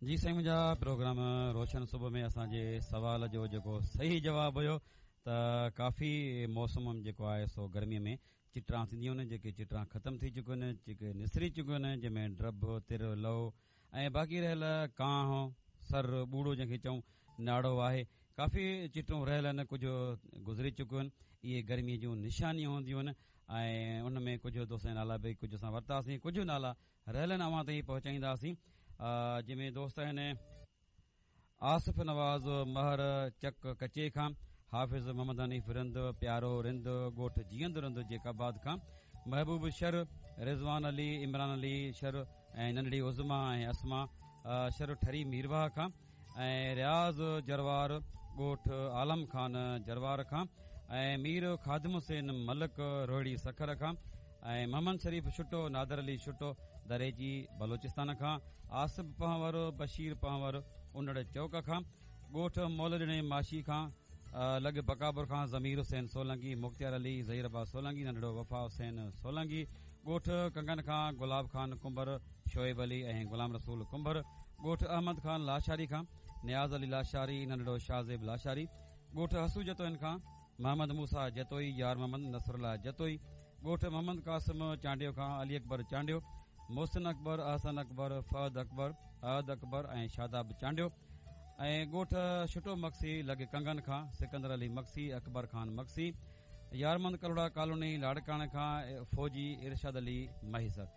جي سائين منهنجا پروگرام روشن صبح ۾ اسان جي سوال جو جيڪو صحيح جواب هيو ته ڪافي موسم جيڪو آهي سو گرمي ۾ چٽران ٿينديون آهن جيڪي چٽران ختم ٿي چڪيون آهن جيڪي نسري چڪيون آهن جنهن ۾ ڊڀ تر لئو ۽ باقي رهيل ڪانهه سر ٻوڙو جنهن کي چئون ناڙو آهي ڪافي چٽون رهيل آهن ڪجهه گذري چڪيون آهن اهي گرمي جون نشانيون هونديون آهن ۽ ان ۾ ڪجهه دوستن جا نالا به ڪجهه اسان ورتاسين ڪجهه نالا رهيل آهن اوهان تائين پهچائينداسين جنهن ۾ دوست آهن آصف نواز مهر چڪ ڪچي کان، حافظ محمد حنيف رند، پيارو رند، ڳوٺ جيئند رند جيڪب آباد کان، محبوب شر، رضوان علي، عمران علي شر ۽ ننڍڙي عظميٰ ۽ اسما شر ٺري ميرواهه کان ۽ رياض جروار ڳوٺ عالم خان جروار کان ۽ مير خادم حسين ملڪ روهڙي سکر کان ۽ محمد شريف ڇٽو، نادر علي ڇٽو، دريجي بلوچستان کان، آصف پنهور، بشير پنهور، انڙ چوڪ کان، ڳوٺ مولڏڻي ماشي کان، لڳ بقاپور کان ضمير حسين سولنگي، مختيار علي، ظهير عباس سولنگي، ننڍڙو وفا حسين سولنگي، ڳوٺ ڪنگن کان گلاب خان ڪنڀر، شعيب علي ۽ غلام رسول ڪنڀر، ڳوٺ احمد خان لاشاري کان نياز علي لاشاري، ننڍڙو شاهزيب لاشاري، ڳوٺ حسو جتوئين کان محمد موسيٰ جتوئي، يار محمد نصرالله جتوئي، ڳوٺ محمد قاسم چانڊيو کان علي اڪبر چانڊيو، محسن اڪبر، احسن اڪبر، فهد اڪبر، احد اڪبر ۽ شاداب چانڊيو ۽ ڳوٺ ڇٽو مگسي لڳ ڪنگن کان سڪندر علي مگسي، اڪبر خان مگسي، يارمند ڪلهوڙا ڪالوني لاڙڪاڻي کان فوجي ارشاد علي مهيسر.